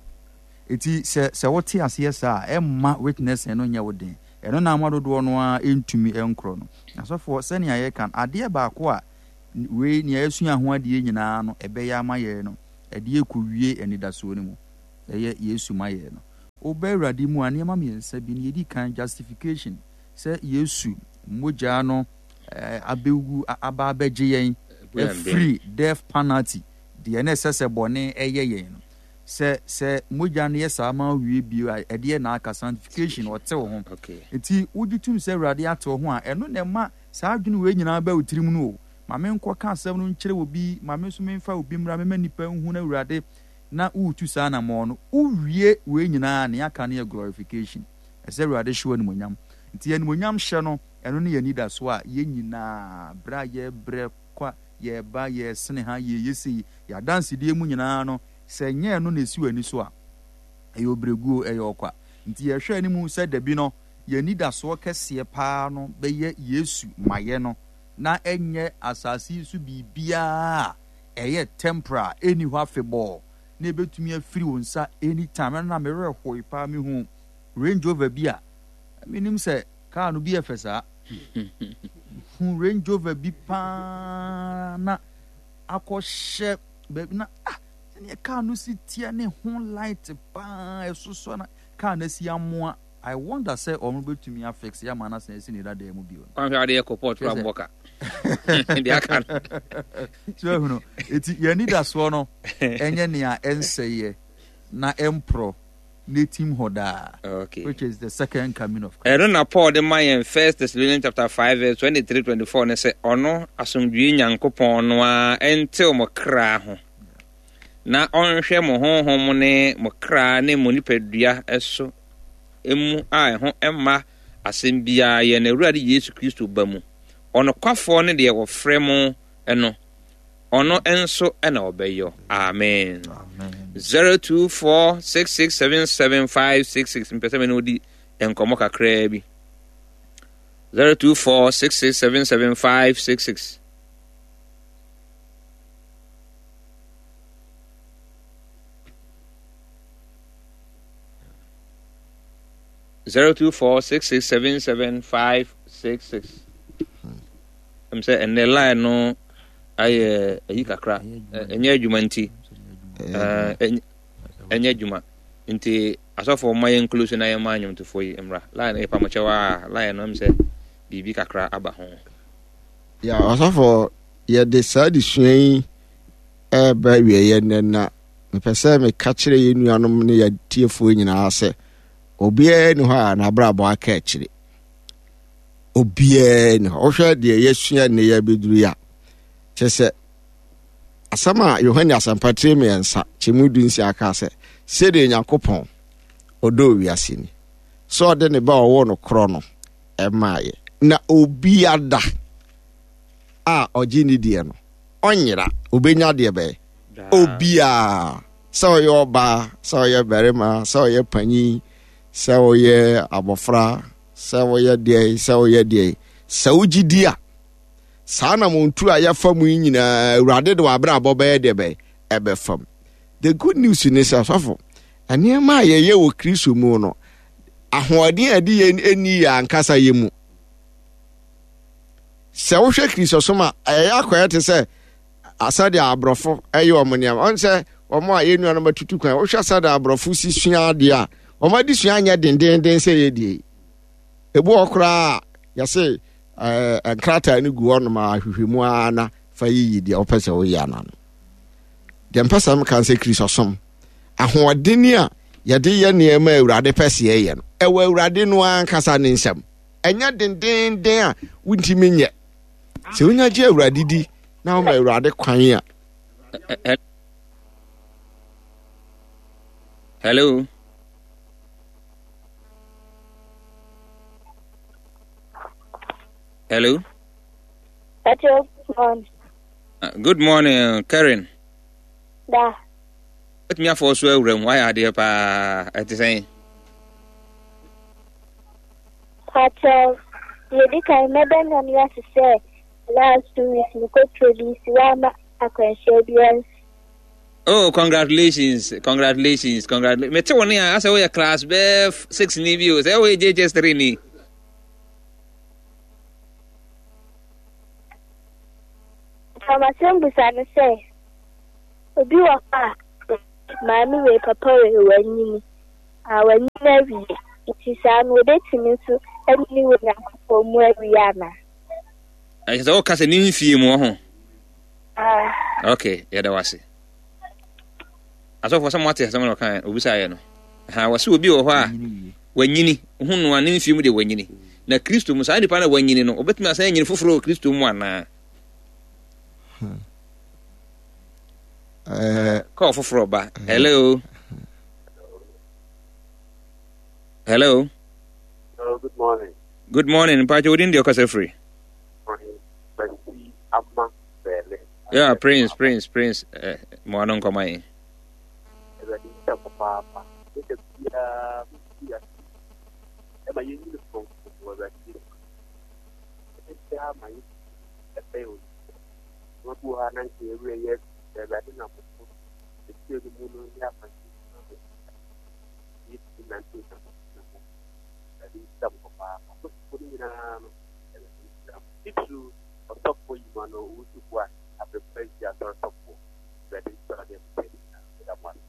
Enti sɛ sɛ wote aseɛ saa a, ɛmma witnessing no nyɛ wo den. Ɛno na ama dodoɔ no ara ntumi nkorɔ no. Asɔfoɔ, sɛnea yɛka no, adeɛ baako a Wei nea yɛasua ho adeɛ nyinaa no, ɛbɛyɛ ama yɛn no, ɛde ɛkɔwie anidasoɔ no mu. Ɛyɛ Yesu ma yɛn no. Woba Awurade mu a, nneɛma mmiɛnsa bi no, yɛdi kan, justification, sɛ Yesu mogya no abɛwu, aba abɛgye yɛn afiri death penalty, deɛ na ɛsɛ sɛ bɔne ɛyɛ yɛn no. Sɛ sɛ mogya no yɛ saa ma wie bio a, ɛdeɛ na aka sanctification, ɔte wo ho. Nti wogye tom sɛ Awurade ate wo ho a, ɛno na ɛma saa adwene wei nyinaa ba wo tirim no o. Ma menkɔka asɛm no nkyerɛ obi, ma me nso memfa obi mmra, mema nnipa nhu no Awurade, na woretu saa anammɔn no. Wowie wei nyinaa a, nea aka no yɛ glorification. Ɛsɛ Awurade hyɛ wo animuonyam. Nti animuonyam hyɛ no, ɛno ne yɛn anidasoɔ a yɛn nyinaa, berɛ a yɛrebrɛ kwa, yɛreba, yɛresene ha, yɛreyɛ sei, yɛn adansedie mu nyinaa no, sɛ ɛnyɛ ɛno na ɛsi w'ani so a, ɛyɛ ɔbrɛguo, ɛyɛ ɔkwa. Nti yɛhwɛ anim sɛ dabi no, yɛn anidasoɔ kɛseɛ paa no bɛyɛ Yesu mayɛ no, na ɛnyɛ asase yi so biribiara a ɛyɛ temporal a ɛnni hɔ afebɔɔ, na ɛbɛtumi afiri wo nsa anytime. Ɛno na me werɛ hoe paa, mehu Range Rover bi a, menim sɛ kaa no bi yɛ fɛ saa. Hu Range Rover bi paa na akɔhyɛ baabi na ah, sɛdeɛ kaa no si teɛ ne ho light paa ɛsosɔ na kaa no asi amoa. I wonder sɛ wɔn bɛtumi afix ama no asan asi ne dadaa mu bio no. Kwanhwɛ adeɛ kɔ port kora mbɔ ka. Deɛ aka no. So ahunu, eti yɛn anidasoɔ no ɛnyɛ nea ɛnsɛeɛ na ɛmporɔ na etim hɔ daa. Okay. Which is the second coming of Christ. Ɛno na Paul de ma yɛn First Thessalonians chapter five verse twenty three twenty four no sɛ ɔno asomdwoe Nyankopɔn no ara ntew mo kra ho na ɔnhwɛ mo honhom ne mo kra ne mo nipadua so mu a ɛho mma asɛm biara yɛn Awurade Yesu Kristo ba mu. Ɔnokwafoɔ ne deɛ wɔfrɛ mo no, ɔno nso na ɔbɛyɔ. Amen. zero two four six six seven seven five six six mpɛ sɛ me ne wodi nkɔmmɔ kakraa bi. zero two four six six seven seven five six six. Zero two four six six seven seven five six six. Ɛm sɛ ɛnɛ line no ayɛ ayi kakra, ɛnyɛ adwuma nti, ɛnyɛ adwuma nti asɔfoɔ ma yɛn close na yɛn ma nnwomtofoɔ yi mmra. Line no yɛ pamokyɛw a line no ɛm sɛ biribi kakra aba ho. Ya ɔsɔfoɔ, yɛde saa adesua yi ɛreba awieeɛ nnɛ na mepɛ sɛ meka kyerɛ yɛn nuanom ne yɛn atiefoɔ nyinaa sɛ obiara ni hɔ a n'abrabɔ aka akyire. Obiara ni hɔ. Wohwɛ deɛ yɛasua nnɛ yɛ abɛduru yi a, kyerɛ sɛ asɛm a Yohane Asɛmpa tire mmiɛnsa kyɛmu du nsia kaa sɛ sɛdeɛ Nyankopɔn ɔdɔ wiase ni sɛ ɔde ne ba ɔwɔ no korɔ no ɛmaayɛ na obiara a ɔgye ne deɛ no ɔnyera, obenya deɛ bɛyɛ obiara, sɛ ɔyɛ ɔbaa, sɛ ɔyɛ barima, sɛ ɔyɛ panyin, sɛ ɔyɛ abɔfra, sɛ ɔyɛ deɛ, sɛ ɔyɛ deɛ, sɛ wogye di a, saa na montu a yɛfa mu yi nyinaa Awurade de w'abrabɔ bɛyɛ deɛ bɛyɛ ɛbɛfam. The good news ne sɛ sɔfo, nneɛma a yɛyɛ wɔ Kristo mu no, ahoɔden a ɛde yɛn ɛnni yɛ ankasa yɛ mu. Sɛ wohwɛ Kristosom a, ɛyɛ akɔyɛ te sɛ asɛdeɛ aborɔfo ɛyɛ wɔn nneɛma. Ɔn sɛ wɔn a yɛn nuanom atutu kwan, wohwɛ sɛdeɛ aborɔfo si sua adeɛ a, wɔn adesua nyɛ dendenden sɛ yɛ deɛ yi. Ebi wɔ koraa a, yɛse ɛɛ nkrataa no gu hɔnom a ahwehwɛ mu ara na fa yiyi deɛ wopɛ sɛ woyɛ ana no. Deɛ mpɛ sɛ meka sɛ Kristosom ahoɔden a yɛde yɛ nneɛma a Awurade pɛ sɛ yɛyɛ no, ɛwɔ Awurade no ankasa ne nsam. Ɛnyɛ dendenden a wontumi nyɛ. Sɛ wonya gye Awurade di na woma Awurade kwan a. Hello. Hello. Hello, good morning. Uh, good morning, Karen. Da. Wotumi afɔ so awura mu, wayɛ adeɛ paa, ɛte sɛn? Pakyɛw, deɛ edi kan mɛda Nyame ase sɛ last two weeks mekɔ produce wamma akwanhyia biara nsi. Oh, congratulations, congratulations, congratulations. Mete wo ne a, asɛ woyɛ class bɛɛ six ni bi o, sɛ woyɛ J H S three ni. Mpakyɛw m'asɛm busa no sɛ obi wɔ hɔ a maame wei papa wei wanyini a wanyini awie nti saa no obetumi nso anyini wɔ Nyankopɔn mu awie anaa? Ɛkyɛ sɛ woka sɛ ne mfie mu wɔ ho. Ah, Okay, yɛda wo ase. Asɔfoɔ sɛ moate asɛm na ɔka obisaeɛ no. Ha wɔ sɛ obi wɔ hɔ a wanyini ho no a ne mfie mu deɛ wanyini. Na Kristo mu saa nipa na wanyini no, obetumi asan anyini foforɔ wɔ Kristo mu anaa? Eh, Kɔɔ foforɔ ba. Hello. Hello. Hello, good morning. Good morning. Mpakyɛ wodin deɛ ɔkasa firi? Morning. Twenty Ama Bele. Yeah, Prince, Prince, Prince. Eh, mo ano nkɔma yi. Awurade nhyɛ papaapa. Ɛda biara mesi ase. Ɛma yɛnyini frɔmfrɔm wɔ Awurade mu. Ɛda biara ma yɛ ɛbɛn Onyankopɔn. Nneɛma bi wɔ hɔ a na nka yɛwerɛ yɛ afi sɛ Awurade nam so ɛkyerɛ no mu no ne akwankyerɛ no ma yɛtumi nante Onyankopɔn ho. Awurade nhyira mo papaapa. Asɔfoɔ no nyinaa no, Awurade nhyira mo. Titiriw ɔsɔfoɔ Yima no owusu boa abrɛpa yi asɔre sɔfoɔ. Awurade nhyira wo ne abusua no nyinaa. Meda mo ase.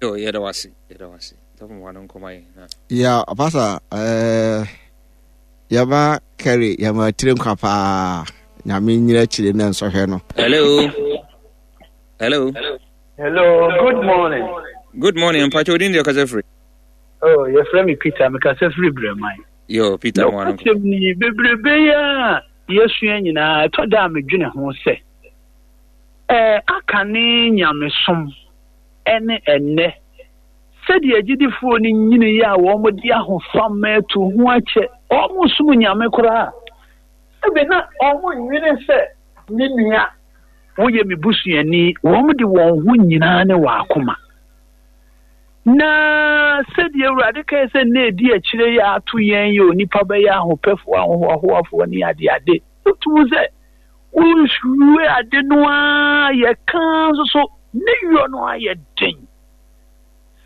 Yo, yɛda wo ase. Yɛda wo ase. Sɔfo mo ano nkɔma yi. Na ya pasa eh, yɛba kɛre yɛma tire nkwa paa nyame nyina akyire na nsɔhwɛ no Hello. Hello. Hello, good morning. Good morning. Mpakyɛ wodin deɛ ɔkasa firi? Oh, yɛfrɛ me Peter, mekasa firi Brɛman. Yo, Peter mo ano nkɔma. Nokwasɛm ni, bebrebe yi a yɛsua nyinaa, ɛtɔ da a medwene ho sɛ, ɛɛ, aka ne nyamesom ɛne ɛnnɛ. Sɛdeɛ agyidifoɔ no nyini yi a wɔn de ahofama atu ho akyɛ, wɔn som nyame koraa. Ebi na wɔn nwene sɛ me nua woyɛ me busuani, wɔn de wɔn ho nyinaa ne wɔn akoma. Na sɛdeɛ Awurade kae sɛ nna edi akyire yi a ato yɛn yɛ onipa bɛyɛ ahopɛfoɔ, ahohoahoafoɔ ne adeade. Wotum sɛ wohwie ade no a yɛka nso so ne yɔ no ayɛ den.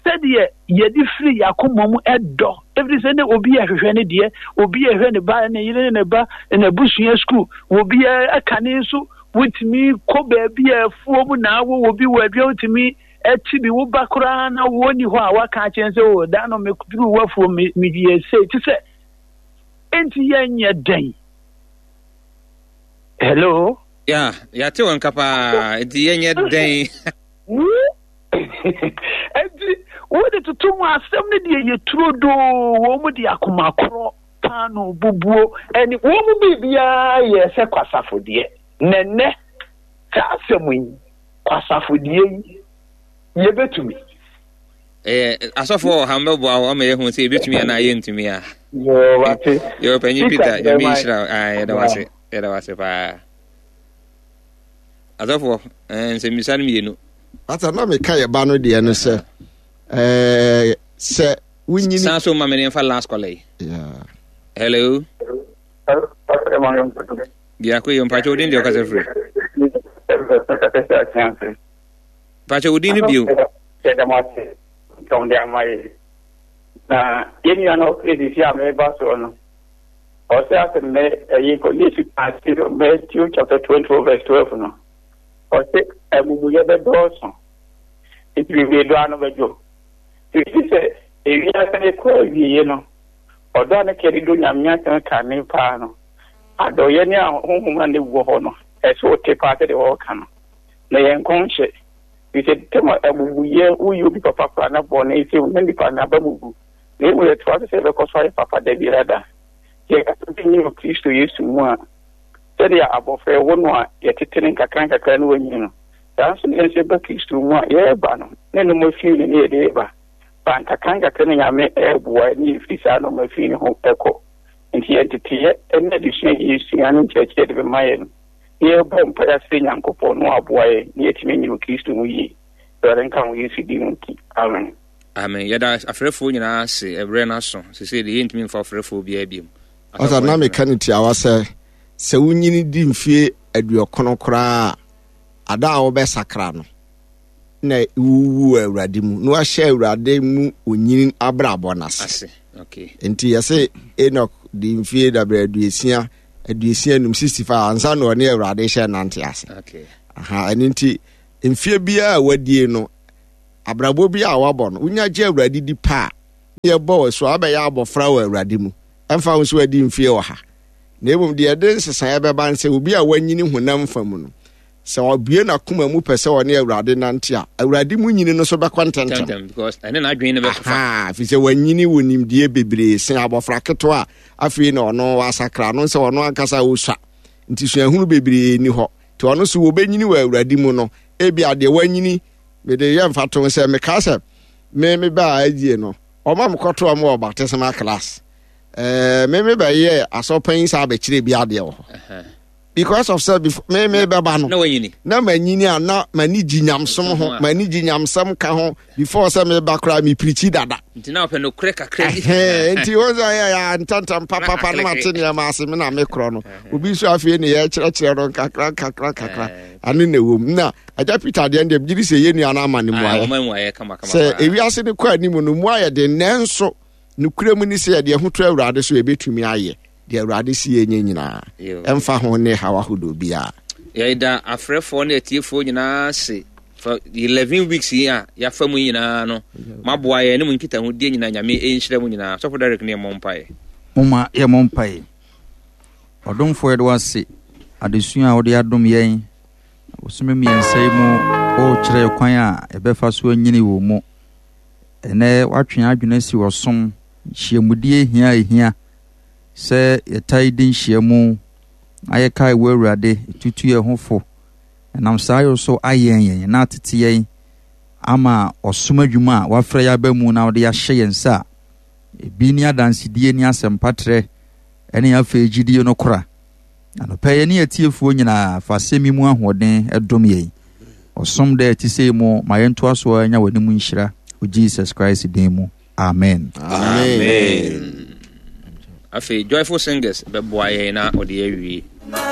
Sɛdeɛ yɛde firi yɛn akoma mu ɛdɔ, ɛfiri sɛ ne obi ɛhwehwɛ ne deɛ, obi ɛhwɛ ne ba, ne yere ne ne ba, n'abusua sukuu, obi ɛka ne nso wotumi kɔ baabi a afuo mu na awo obi wɔ adua wotumi ɛti bi wo ba koraa na wɔnni hɔ a waka akyerɛ sɛ o da no meduru w'afuo me meyɛ sei te sɛ enti yɛnyɛ dɛn. Hello. Ya, yɛate wɔn nka paa. Nti yɛnyɛ dɛn? Enti wode toto mu asɛm no deɛ yɛ turodoo wɔn mu de akoma korɔ paano bubuo ɛne wɔn mu biribiara yɛ sɛ kwasafodeɛ. Na nnɛ saa asɛm yi kwasafodeɛ yi yɛbɛtumi. Eh, asɔfoɔ wɔ ha mbɛboa wo ama yɛhu sɛ yɛbɛtumi anaa yɛntumi a. Yoo, wate. Yo, panyin Peter, Peter, Nyame Brɛman. nhyira wo. Ah, yɛda wo ase. Yɛda wo ase paa. Asɔfoɔ, eh, nsɛmmisa no mmienu. pasa na meka yɛba no deɛ no sɛ eh, sɛ wonyini San so ma me ne mfa last caller yi. Yeah. Hello. Biako yi, mpakyɛ wodin deɛ ɔkasa firi? Mpakyɛ wodin no bio. Na yɛn nua no ɔfiri sisi a meba soɔ no ɔsɛ asɛ mɛ ɛyi kɔ Yesu ase Matthew chapter twenty four verse twelve no ɔsɛ amumuyɛ bɛdɔɔso nti bebree dɔ ano bɛdwo nti sɛ ewiase no kɔ awieɛ no ɔdɔ a ne kɛde do Nyame asɛm ka ne paa no adɔyɛ ne ahonhom a ne wɔ hɔ no ɛsɛ ɔte paa sɛdeɛ wɔreka no na yɛn nkɔnhyɛ sɛ tɛm amumuyɛ woyɛ obi papa koraa na bɔne sɛ na nipa no aba mu gu na emu yɛtoa so sɛ yɛbɛkɔ so ayɛ papa da biara da yɛkasa bi nyɛ wɔ Kristo Yesu mu a sɛdeɛ abɔfra ɛwɔ no a yɛtete ne nkakra nkakra ne wanyini no saa nso ne yɛn nso yɛba Kristo mu a yɛreba no ne nnoɔma fii no ne yɛde ba ba nkakra nkakra ne Nyame ɛreboa ne yɛfiri saa nnoɔma fii no ho ɛkɔ nti yɛnteteyɛ ne adesua yɛsua ne nkyerɛkyerɛ de bɛma yɛ no yɛbɔ mpaeɛ asrɛ Nyankopɔn na waboa yɛn na yɛatumi anyini wɔ Kristo mu yie. Awurade nka ho Yesu din mu nti. Amen. Amen. Yɛda afrɛfoɔ nyinaa ase ɛberɛ no aso. Sesei deɛ yɛntumi mfa ɔfrɛfoɔ biara biom. Ɔsa na meka no tiawa sɛ sɛ wonyini di mfie aduɔkono koraa a ada a wobɛsakra no na wuwu wɔ Awurade mu na wahyɛ Awurade mu onyini abrabɔ no ase. Ase. Okay. Nti yɛse Enoch di mfie dabrɛ aduosia aduosia num sixty five ansa na ɔne Awurade hyɛ nante ase. Aha, ɛno nti mfie biara a wadie no, abrabɔ bi a wabɔ no, wonya gye Awurade di pa a, yɛbɔ wɔ so abɛyɛ abɔfra wɔ Awurade mu. Ɛmfa ho so adi mfie wɔ ha. Na mmom deɛ ɛde nsesaeɛ bɛba nsɛ obi a wanyini honam fa mu no, sɛ ɔbue n'akoma mu pɛ sɛ ɔne Awurade nante a, Awurade mu nyini no so bɛkɔ ntɛmntɛm. Because ɛne n'adwene no bɛkɔfa. Aha, ɛfiri sɛ wanyini wɔ nimdeɛ bebree sen abɔfra ketewa a afei na ɔno wasakra no sɛ ɔno ankasa ɔsua. Nti suahunu bebree ni hɔ. Nti ɔno so wɔbɛnyini wɔ Awurade mu no, ebi adeɛ wanyini, mede yɛ mfatoho sɛ mekaa sɛ me me baa adie no, ɔma mekɔto ɔmo wɔ baptismal class. Eh, me me bɛyɛ asɔpanyin saa abɛkyerɛ bi adeɛ wɔ hɔ. Because of sɛ before me me bɛba no, na wanyini. Na manyini a na m'ani gye nyamsom ho, m'ani gye nyamsɛm ka ho before sɛ meba koraa me pirikyi dada. Nti na ɔpɛ nokorɛ kakra bi. Nti wɔn sɛ yɛ yɛ ntantam papapa na mate nneɛma ase me na me korɔ no. Obi nso afei ne yɛkyerɛkyerɛ no nkakra nkakra nkakra. Ano na ɛwɔ mu. Na Agya Peter deɛ deɛ gye di sɛ yɛn nua no ama ne mmuaeɛ. Sɛ ewiase no kɔ anim no mu ayɛ den, nanso nokorɛ mu ni sɛ yɛde ɛho to Awurade so yɛbɛtumi ayɛ deɛ Awurade si yɛnyɛ nyinaa, ɛmfa ho ne haw ahodoɔ biara. Yɛda afrɛfoɔ ne atiefoɔ nyinaa ase for eleven weeks yi a yɛafa mu nyinaa no, maboa yɛn ne mu nkitahodie nyinaa. Nyame ɛnhyira mu nyinaa. Sɔfo Derek ne yɛmmɔ mpaeɛ. Momma yɛmmɔ mpaeɛ. Ɔdomfoɔ, yɛde wo ase adesua a wode adom yɛn bosome mmiɛnsa yi mu. Wokyerɛ kwan a yɛbɛfa so anyini wɔ mu. Ɛnɛ woatwe adwene asi ɔsom nhyiamudie hia a ɛhia sɛ yɛtae di nhyiamu na yɛkae wo Awurade, tutu yɛn ho fo. Ɛnam saa yɛ so ayɛn yɛn na atete yɛn ama ɔsom adwuma a wafrɛ yɛn aba mu na wode ahyɛ yɛn nsa a ebi ne adansedie ne asɛmpatrɛ ne afei gyidie no kora. Anɔpɛ yɛne atiefoɔ nyinaa fa asɛm yi mu ahoɔden dom yɛn. Ɔsom dɛ ɛte sɛ mu ma yɛntoa so anya w'anim nhyira wɔ Jesus Christ din mu. Amen. Amen. Afei Joyful Singers bɛboa yɛn na ɔde awie.